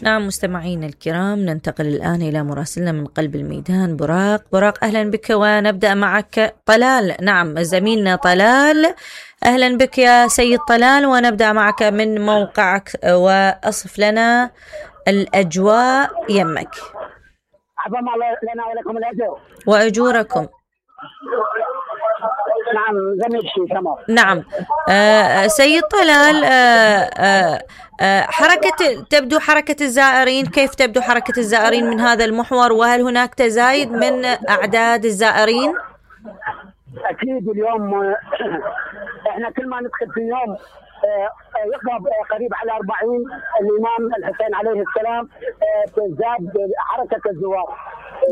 نعم مستمعين الكرام، ننتقل الآن إلى مراسلنا من قلب الميدان براق أهلا بك، ونبدأ معك طلال. نعم زميلنا طلال، أهلا بك يا سيد طلال، ونبدأ معك من موقعك وأصف لنا الأجواء يمك. عظم الله لنا ولكم الأجر وأجوركم. نعم زميل شيء تمام. نعم سيد طلال، تبدو حركة الزائرين، كيف تبدو حركة الزائرين من هذا المحور، وهل هناك تزايد من أعداد الزائرين؟ أكيد اليوم إحنا كل ما ندخل في يوم يقرب قريب على 40 الإمام الحسين عليه السلام تزداد حركة الزوار.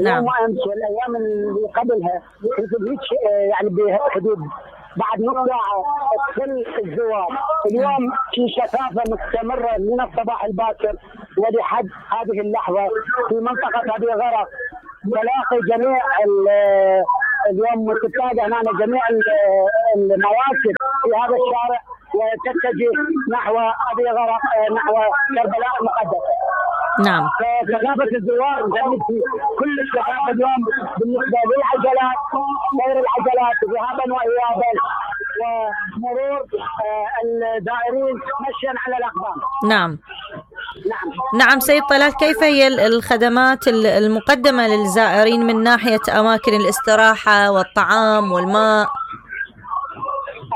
نعم. اليوم أمس والأيام اللي قبلها يعني بحدود بعد نص ساعة تدخل الزوار. اليوم في شفافة مستمرة من الصباح الباكر ولحد هذه اللحظة في منطقة أبي غرق. تلاقي جميع اليوم تتابع هنا جميع المواكب في هذا الشارع وتتجه نحو أبي غرق، نحو كربلاء المقدسة. نعم. فكثافة الزوار في كل الكثافة اليوم بالنسبة للعجلات، سير العجلات ذهابا وإيابا ومرور الزائرين مشيا على الأقدام. نعم. نعم سيد طلال، كيف هي الخدمات المقدمة للزائرين من ناحية أماكن الاستراحة والطعام والماء؟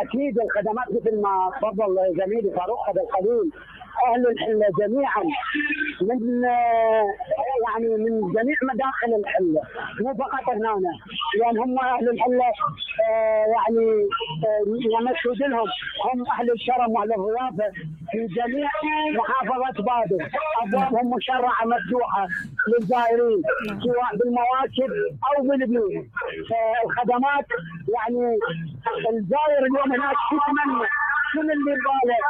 أكيد الخدمات مثل ما تفضل زميلي فاروق هذا القليل، أهل الحلة جميعا من يعني من جميع مداخل الحلة، مو فقط هنا، لأن هم أهل الحلة يعني يمشوا لهم هم أهل الكرم وأهل الضيافة في جميع محافظة بابل. أبوابهم مشرعة مفتوحة للزائرين سواء بالمواكب أو بالبيوت. فالخدمات يعني الزائر اليوم هناك يتمنى كل اللي يبغاه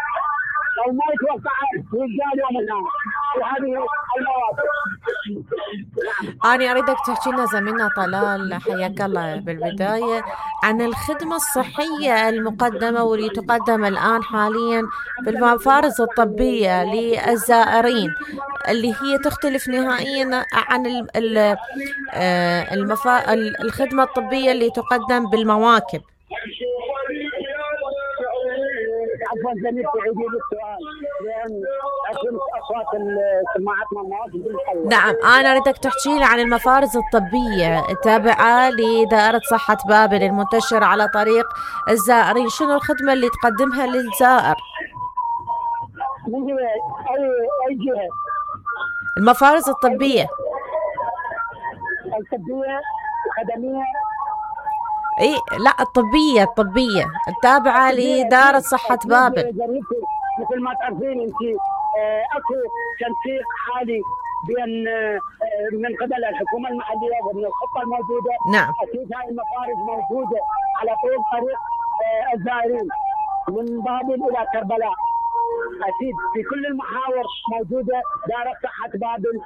أو ما يتوقع رجال يوم الآن في هذه المواقف. أنا أريدك تحكي لنا زميلنا طلال حياك الله بالبداية عن الخدمة الصحية المقدمة واللي تقدم الآن حاليا بالمفارز الطبية للزائرين، اللي هي تختلف نهائيا عن الخدمة الطبية اللي تقدم بالمواكب. عفوا زميلي تعيدي لي السؤال لأن أكون أصوات سماعتنا المواقف. نعم أنا أريدك تحكي لي عن المفارز الطبية التابعة لدائرة صحة بابل المنتشرة على طريق الزائرين، شنو الخدمة اللي تقدمها للزائر؟ من جهة أي جهة؟ المفارز الطبية الخدمية. اي لا الطبية التابعة لدائرة صحة بابل. مثل ما تعرفين انت اكو تنسيق حالي بين من قبل الحكومة المحلية ومن الخطة الموجودة. نعم. اكيد هاي المفارز موجودة على طول طريق الزائرين من بابل الى كربلاء. اكيد في كل المحاور موجودة دائرة صحة بابل،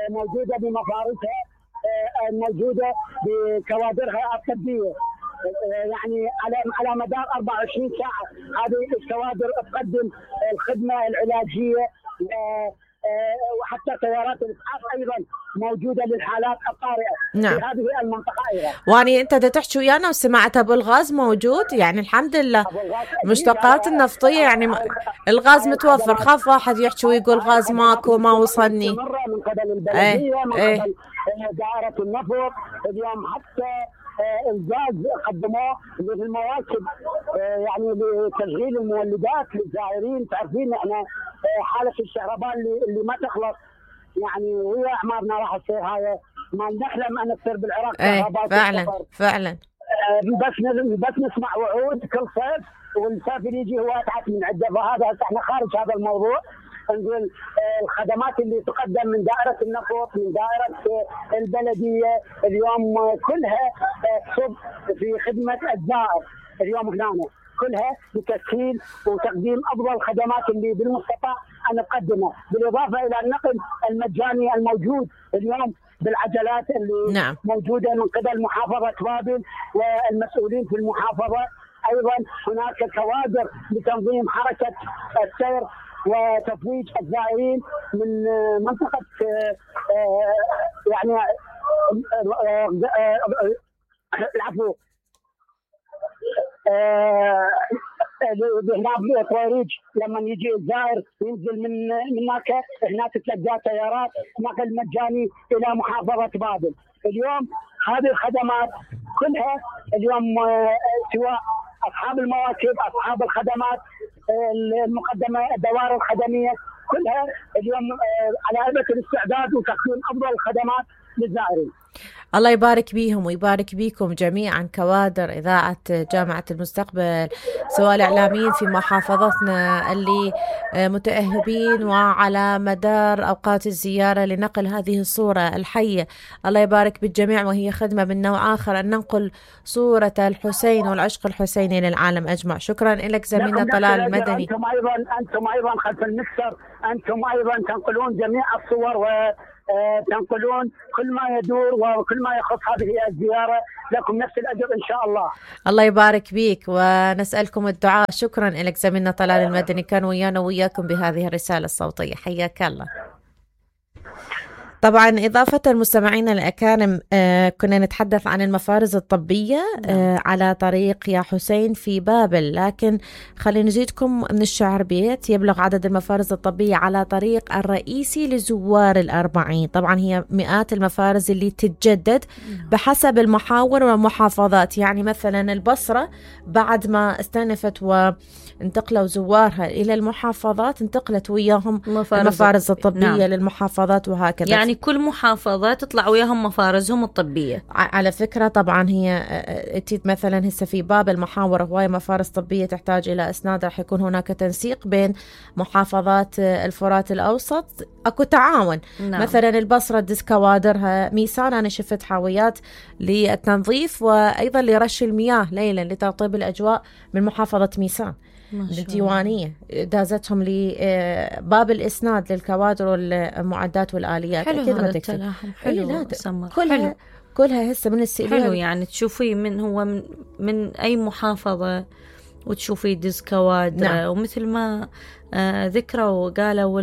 موجودة بمفارزها، موجودة بكوادرها الطبية. يعني على مدار 24 ساعة هذه الكوادر تقدم الخدمة العلاجية، وحتى سيارات الإسعاف أيضا موجودة للحالات الطارئة. نعم. في هذه المنطقة أيضا. واني أنت تحكي ويانا وسمعت أبو الغاز موجود، يعني الحمد لله مشتقات النفطية يعني الغاز متوفر. خاف واحد يحكي ويقول غاز ماكو ما وصلني. من قبل البلدية من قبل دائرة النفط. اليوم حتى الغاز قدموه للمواكب يعني لتشغيل المولدات للزائرين. تعرفين احنا حالة الشهرباء اللي ما تخلص، يعني وهي اعمارنا راح تصير هاي ما نحلم ان تصير بالعراق شهرباء. فعلا بس نسمع وعود كل صيف، والصيف اللي يجي هو اتعس من عده. فهذا احنا خارج هذا الموضوع. نقول الخدمات اللي تقدم من دائرة النفط من دائرة البلدية اليوم كلها تصب في خدمة الزائر. اليوم هنا كلها لتسهيل وتقديم أفضل الخدمات اللي بالمستطاع أن نقدمها، بالإضافة إلى النقل المجاني الموجود اليوم بالعجلات اللي نعم. موجودة من قبل محافظة بابل والمسؤولين في المحافظة. أيضا هناك كوادر لتنظيم حركة السير وتفويج الزائرين من منطقة يعني العفو هنا بطويريج. لما يجي الزائر ينزل من هناك، هناك تلقى سيارات نقل مجاني الى محافظة بابل. اليوم هذه الخدمات كلها اليوم سواء اصحاب المواكب، اصحاب الخدمات المقدمة، الدوائر الخدمية كلها اليوم على أبة الاستعداد وتقديم افضل الخدمات للزائرين. الله يبارك بيهم ويبارك بيكم جميعا كوادر إذاعة جامعة المستقبل، سواء الإعلاميين في محافظتنا اللي متأهبين وعلى مدار أوقات الزيارة لنقل هذه الصورة الحية. الله يبارك بالجميع، وهي خدمة من نوع آخر أن ننقل صورة الحسين والعشق الحسيني للعالم أجمع. شكرا لك زميلنا طلال المدني. أنتم أيضا خلف المكسر، أنتم أيضا تنقلون جميع الصور وتنقلون كل ما يدور وكل ما يخص هذه الزيارة. لكم نفس الأجر إن شاء الله. الله يبارك بيك ونسألكم الدعاء. شكرا لك زميلنا طلال المدني، كان ويانا وياكم بهذه الرسالة الصوتية. حياك الله. طبعا إضافة المستمعين الأكارم كنا نتحدث عن المفارز الطبية على طريق يا حسين في بابل، لكن خلينا نزيدكم من الشعر بيت. يبلغ عدد المفارز الطبية على طريق الرئيسي لزوار الأربعين. طبعا هي مئات المفارز اللي تتجدد بحسب المحاور والمحافظات. يعني مثلا البصرة بعد ما استأنفت وانتقلوا زوارها إلى المحافظات انتقلت وياهم المفارز الطبية للمحافظات، وهكذا. يعني كل محافظة تطلع وياهم مفارزهم الطبية. على فكرة طبعا هي مثلا هسه في باب المحاور هواية مفارز طبية تحتاج إلى إسناد، رح يكون هناك تنسيق بين محافظات الفرات الأوسط، أكو تعاون. نعم. مثلا البصرة دز كوادرها ميسان، أنا شفت حاويات للتنظيف وأيضا لرش المياه ليلا لترطيب الأجواء من محافظة ميسان الديوانية، دازتهم لباب الإسناد للكوادر والمعدات والآليات. حلو هذا التلاحم، حلو. كلها هسه من السئلين. حلو يعني تشوفي من هو من أي محافظة وتشوفي دز كوادر. نعم. ومثل ما ذكروا وقالوا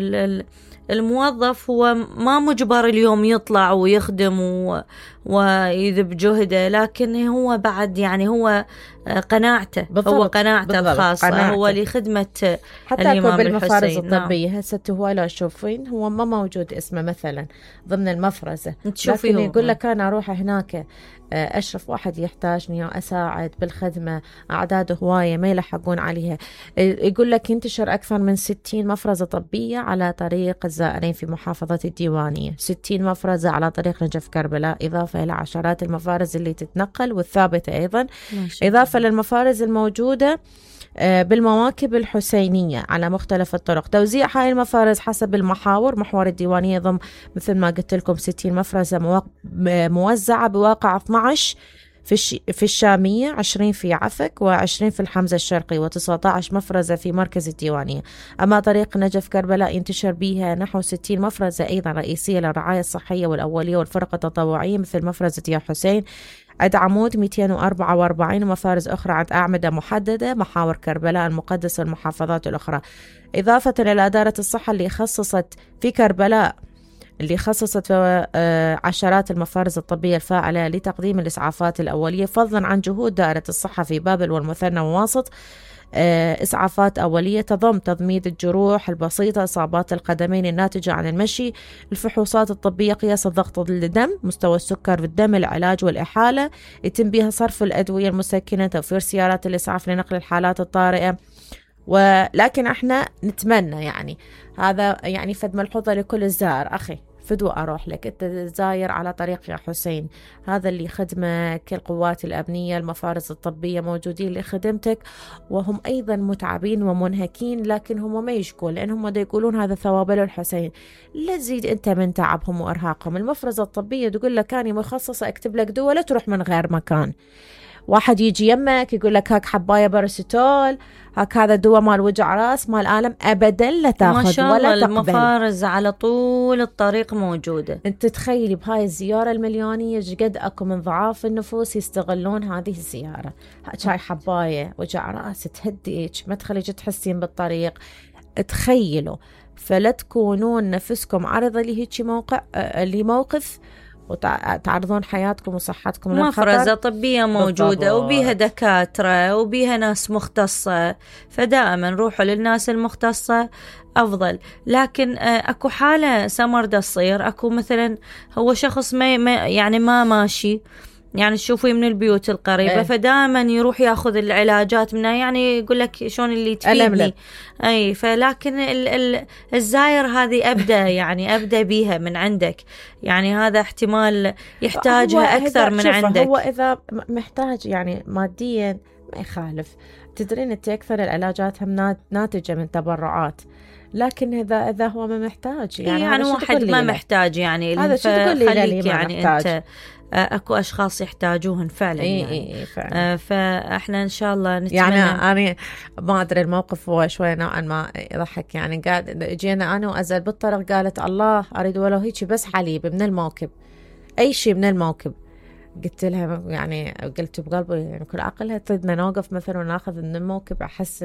الموظف هو ما مجبر اليوم يطلع ويخدم ويذب جهده، لكن هو بعد يعني هو قناعته بالضبط. هو قناعته الخاصة هو لخدمة حتى الإمام بالمفارز الطبية. هسه هو لا شوفين هو ما موجود اسمه مثلا ضمن المفرزة، لكن يقول لك أنا أروح هناك أشرف واحد يحتاجني أساعد بالخدمة، أعداد هواية ما يلحقون عليها. يقول لك ينتشر أكثر من 60 مفرزة طبية على طريق الزائرين في محافظة الديوانية، 60 مفرزة على طريق نجف كربلاء، إضافة إلى عشرات المفارز اللي تتنقل والثابتة أيضا، إضافة للمفارز الموجودة بالمواكب الحسينية على مختلف الطرق. توزيع هاي المفارز حسب المحاور. محور الديوانية ضم مثل ما قلت لكم 60 مفرزة موزعة بواقع 12 في الشامية، 20 في عفك، و20 في الحمزة الشرقي، و19 مفرزة في مركز الديوانية. أما طريق نجف كربلاء ينتشر بها نحو 60 مفرزة أيضا رئيسية للرعاية الصحية والأولية والفرق التطوعية، مثل مفرزة يا حسين عند عمود 244، ومفارز أخرى عند أعمدة محددة محاور كربلاء المقدسة والمحافظات الأخرى. إضافة إلى إدارة الصحة اللي خصصت في كربلاء عشرات المفارز الطبية الفاعلة لتقديم الإسعافات الأولية، فضلا عن جهود دائرة الصحة في بابل والمثنى وواسط. إسعافات أولية تضم تضميد الجروح البسيطة، إصابات القدمين الناتجة عن المشي، الفحوصات الطبية، قياس الضغط الدم، مستوى السكر في الدم، العلاج والإحالة، يتم بها صرف الأدوية المسكنة، توفير سيارات الإسعاف لنقل الحالات الطارئة. ولكن احنا نتمنى يعني هذا يعني فد ملحوظة لكل الزائر، أخي فدوى أروح لك أنت زاير على طريق يا حسين، هذا اللي خدمك القوات الأمنية المفارز الطبية موجودين لخدمتك، وهم أيضا متعبين ومنهكين، لكن هم ما يشكون لأنهم دا يقولون هذا ثواب للحسين. لا تزيد أنت من تعبهم وإرهاقهم. المفرزة الطبية تقول لك أنا مخصصة أكتب لك دواء لا تروح من غير مكان. واحد يجي يمك يقول لك هاك حباية باراسيتول، هاك هذا دواء مال وجع راس مال ألم، أبدا لا تاخذ ولا تقبل. ما شاء الله المفارز على طول الطريق موجودة. انت تخيلي بهاي الزيارة المليونية قد أكو من ضعاف النفوس يستغلون هذه الزيارة. هاي حباية وجع راس تهديك، ما تخليك تحسين بالطريق. تخيلوا، فلا تكونون نفسكم عرضة لهيك موقف وتعرضون حياتكم وصحتكم للخطر. مفرزة طبية موجودة وبيها دكاترة وبيها ناس مختصة، فدائما روحوا للناس المختصة أفضل. لكن أكو حالة سمر دا تصير، أكو مثلا هو شخص ما ماشي، يعني تشوفيه من البيوت القريبة فدائما يروح ياخذ العلاجات منها، يعني يقول لك شلون اللي تفيدني أي. فلكن الزاير هذه أبدأ بيها من عندك، يعني هذا احتمال يحتاجها أكثر من عندك. هو إذا محتاج يعني ماديا ما يخالف، تدرين أنت أكثر العلاجات هم ناتجة من تبرعات، لكن إذا هو ما محتاج يعني واحد ما محتاج يعني هذا شو تقول لي يعني محتاج. أنت اكو اشخاص يحتاجوهن فعلا يعني. فعلا. فاحنا ان شاء الله نتمنى. يعني انا ما ادري الموقف هو شوي نوعا ما يضحك، يعني قاعد جينا انا وازل بالطريق، قالت الله اريد ولو هيك بس حليب من الموكب، اي شيء من الموكب. قلت لها يعني قلت بقلبي يعني كل عقلها تريدنا نوقف مثلا وناخذ من الموكب، احس